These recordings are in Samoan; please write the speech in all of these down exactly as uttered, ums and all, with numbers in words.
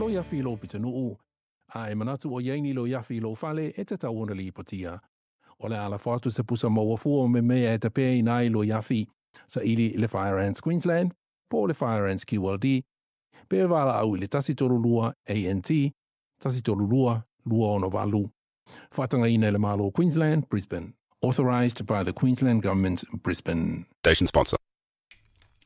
Loia afi i lou pitonuu, a e manatu o i ai ni loia afi i lou fale, e tatau ona lipotia. O le a lafo atu se pusa maua fua o mea e tapeina ai loia afi, saili i le Fire Ants Queensland po o le Fire Ants Q L D, pe valaau i le tasi tolu lua A N T, tasi tolu lua, lua ono valu. Faatagaina e le Malo o Queensland, Brisbane. Authorised by the Queensland Government, Brisbane. Station sponsor.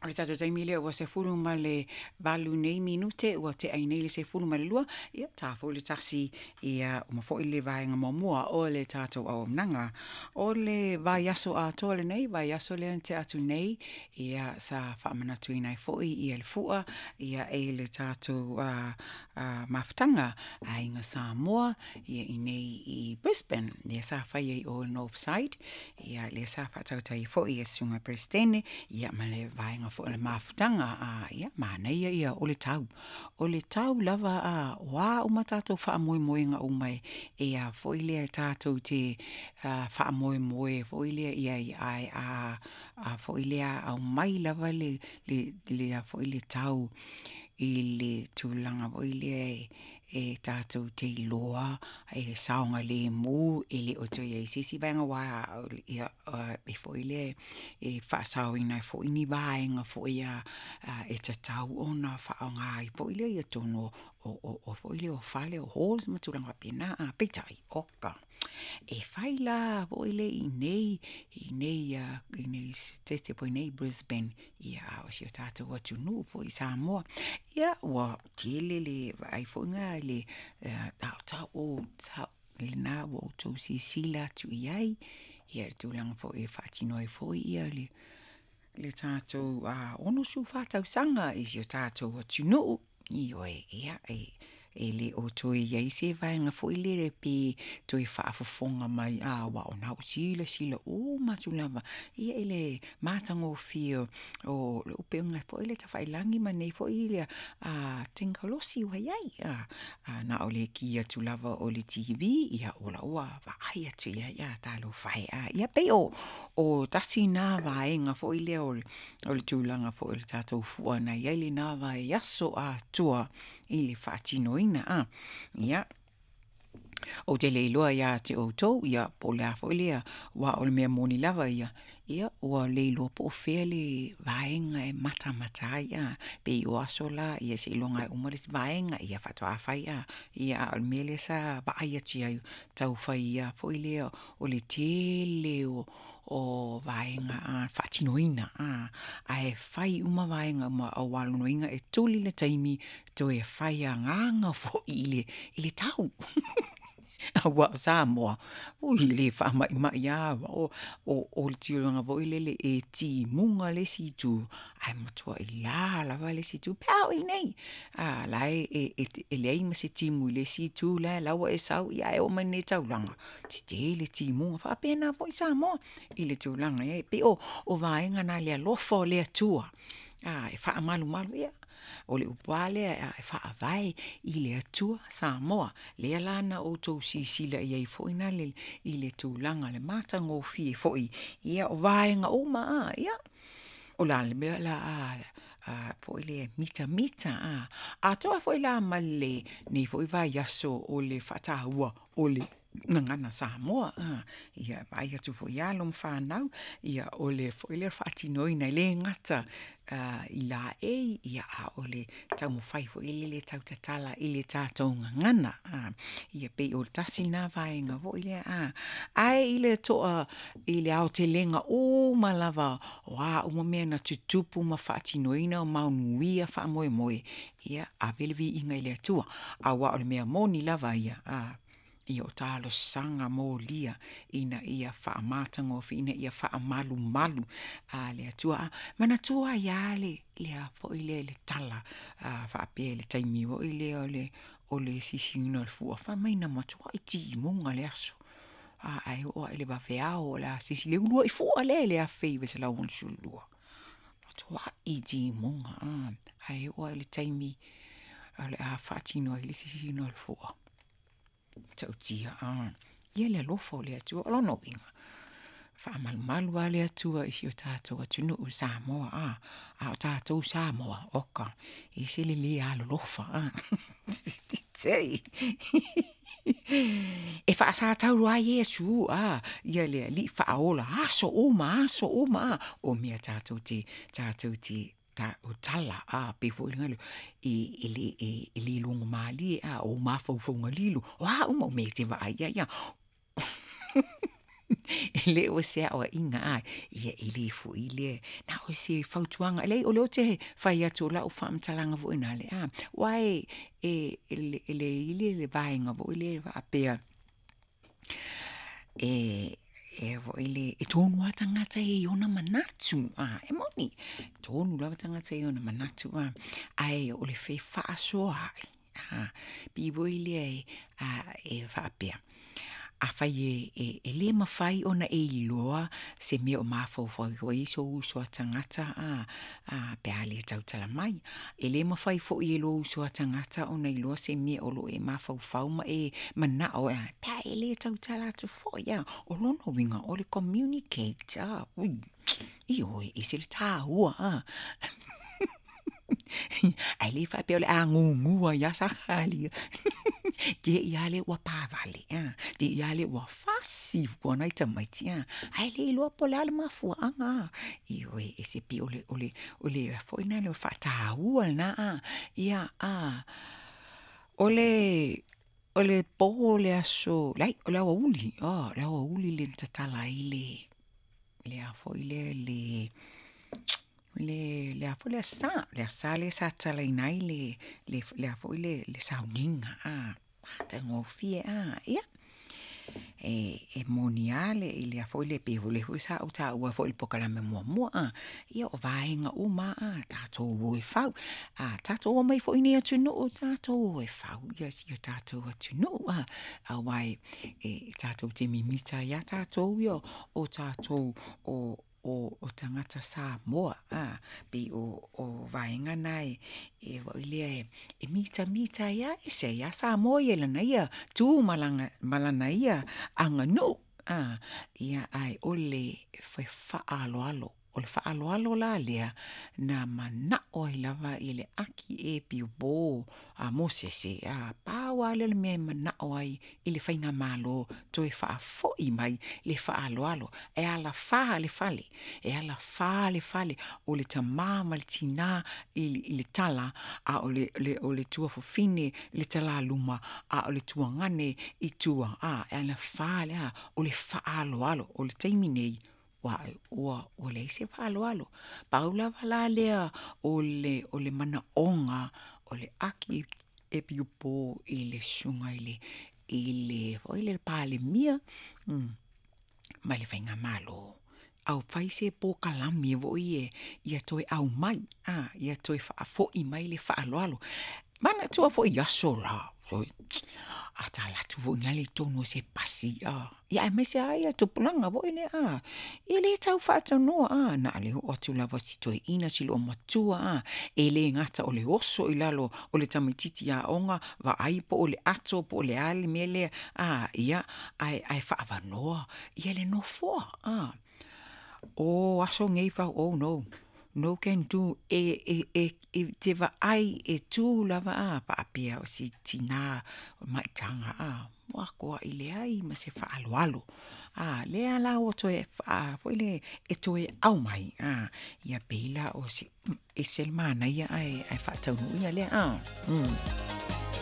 O le tatou taimi lea ua sefulu ma le valu nei minute, ua teai nei le sefulu ma le lua, ia tā foi le tasi, ia uma foi le vaega muamua o le tatou auaunaga. O le vaiaso atoa lenei, vaiaso lea na tea atu nei, ia sa faamanatuina ai foi ia le fua, ia e le tatou uh, uh, mafutaga Aiga Samoa, ia i nei i Brisbane, lea sa fai ai o North Side, ia lea sa faatautai foi ia susuga Presidente, ia ma le vaega foi o le mafutaga, a ia manaia ia o le tau. O le tau lava a o a uma tatou faamoemoega uma e, e a foi lea tatou te uh, faamoemoe foi lea ia i ai a, a foi lea au mai lava le, le, le, a foi le tau i le tulaga foi lea e, e tatou te iloa e saoga lemu e le o toe iai se isi vaega aua ia e foi lea e faasaoina ai foi ni vaega foi a e tatau ona faaaoga ai foi lea ia totonu o, o, o foi lea o fale o halls ma tulaga faapena. A peitai oka e fai la foi le i nei i nei i nei sitete foi nei Brisbane, ia a o si o tatou atunuu foi i Samoa, ia ua tele le vaai foi ngā le taotao o tau lena ua outou silasila atu i ai, ia le tulaga foi e faatino ai foi ia le le tatou ono su fa tausaga i si o tatou atunuu. Ioe, ia e e le o toe iai se vaega foi lele pe toe faafofoga mai a aua o na ua silasila uma atu lava ia i le matagofie o le upega foi le tafailagi ma nei foi le a tekonolosi ua iai a, a na o le ki atu lava o le T V ia o la ua vaai atu ia ia talofa e a ia pei o o tasi na vaega foi lea o o le tulaga foi o le tatou fua na iai lena vaiaso atoa i le faatinoina a ia o te le iloa ia te outou ia po o le a foi lea aua o le mea moni lava ia ia ua le iloa po o fea le vaega e matamata ai a pei o aso la ia seiloga e uma le isi vaega ia faatoa fai a ia a o le mea lea sa vaai atu ai tau fai ia foi lea o le tele o o vaega a faatinoina a ae fai uma vaega uma aua lona uiga e tuli le taimi toe fai agaga foi i le i le tau. Aua o Samoa, ui le faamaimai a o o o le tulaga foi lele e timuga le isi itu, ae matuai la lava le isi itu pe a oo i nei. A la e e e leai ma se timu i le isi itu la la ua e sau ia e oo mai nei taulaga, tetele timuga faapena foi Samoa i le tulaga e pei o o vaega na le alofa o le Atua. A e faamalumalu ia o le upu lava lea e faavae i le Atua Samoa. Lea la na outou silasila i ai foi na le i le tulaga le matagofie foi ia o vaega uma a ia o la le mea la a a foi le mitamita a atoa foi la ma le nei foi vaiaso o le faataua o le gagana Samoa a ia vaai atu foi alo ma fanau ia o le foi lea faatinoina e le gata i laei ia a o le taumafai foi lele tau tatala i le tatou gagana a ia pei o le tasi na vaega foi lea a ae i le toa i le aotelega uma lava o a uma mea na tutupu ma faatinoina o manuia faamoemoe ia ave le viiga i le Atua aua o le mea moni lava ia a ia o talosaga molia ina ia faamatagofie ina ia faamalumalu a le Atua. Manatua ai lava le lea foi lea le tala a faapea le taimi foi lea o le o le sisiina o le fua fai mai na matuai timuga le aso a ae oo lava i le vaveao o le a sisi le uluai fua lea i le afe iva selau ono sefulu lua. Matuai timuga a ae oo lava i le taimi o le a faatino ai le sisiina o le fua. Tautia a ia le alofa o le Atua o lona uiga faamalumalu lava le Atua i si o tatou atunuu Samoa a a o tatou Samoa oka e se le le alolofa a. Sei. E faasataulu ai Iesu a ia le alii faaola aso uma aso uma a o mea tatou te tatou te ta o tala a pe foi le galo e e le e e le logo malie a o mafaufauga lilo o a uma o mea e te vaai ai ia e le o se aoaiga a ia e lē foʻi lea na o se fautuaga lei o lea ou te fai atu o lau faamatalaga foʻi na le a ua e e e le ile le vaega foʻi lea faapea e e foi le e tonu lava tagata e i ona manatu a e moni tonu lava tagata i ona manatu a ae o le fefaasoaai a pei foi lea e a e faapea afai e, e, e lē mafai ona e iloa se mea o mafaufau ai sou uso a tagata a, a pe a lē tautala mai. E lē mafai foʻi e lou uso a tagata ona iloa se mea o loo e mafaufau ma e manao a pe a e lē tautala atu foʻi a o lona uiga o le communicate a ui ioe e ese le tāua a ae lē faapea o le agugua iā sakalia te ia le ua pāvale a te ia le ua fasi fua nai tamaiti a ae le iloa po o le a le mafuaaga a ioe e se pei o le o le o le foʻi lena le faataua lena a ia a o le o le pō o le aso leai o le aoauli a le aoauli le na tatala ai le le a foi lea le le le a foi le asā le asā lea sa tatalaina ai le le le a foi le le sauniga a matagofie a ia e e moni lava le i lea foi le pei le foi sa ou taua foi i le polokalame muamua a ia o vaega uma a tatou o e fau a tatou omai foi i nei atunuu tatou o e fau ia si o tatou atunuu a auā e e tatou te mimita ai lava tatou ia o tatou o o o tagata Samoa a pei o o vaega na e e foi lea e e mitamita ai lava ese ai lava Samoa ia i lana ia tu ma lana ma lana ia aganuu a ia ae o le fefaaloalo o le faaaloalo la lea na manao ai lava i le aki e piopo a Mosese a pau lava lea o le mea e manao ai i le faigamālō toe faafoʻi mai le faaaloalo e alafā le fale e alafā le fale o le tamā ma le tinā i, i le tala a o le, le, o le tuafafine le talāluma a o le tuagane i tua a e alafā le a o le faaaloalo o le taimi nei ua ua ua leai se faaaloalo pau lava la lea o le o le manaoga o le aki e piupo i le susuga i le i le foi le Palemia mm, ma le faigamālō aufai se polokalame foʻi e ia toe aumai a ia toe faafoʻi mai le faaaloalo manatua foʻi aso la foi a tala atu foʻi na le tonu o se pasi a ia aemaise ai ia tupulaga foʻi lea a e lē tau faatanoa a na o le oo atu lava si toeʻina si loomatua a e lē gata o le oso i lalo o le tamaititi aoga vaai po o le ato po o le a le mea lea a ia ae ae faavanoa ia le nofoa a o aso nei fau oh no no can do e e e e te vaai e tū lava a faapea o si tinā o maitaga a ua akoaʻi leai ma se faaaloalo a lea la ua toe faa foi le e toe au mai a ia pei la o se e se le manaia ae ae faataunuuina lea a mm.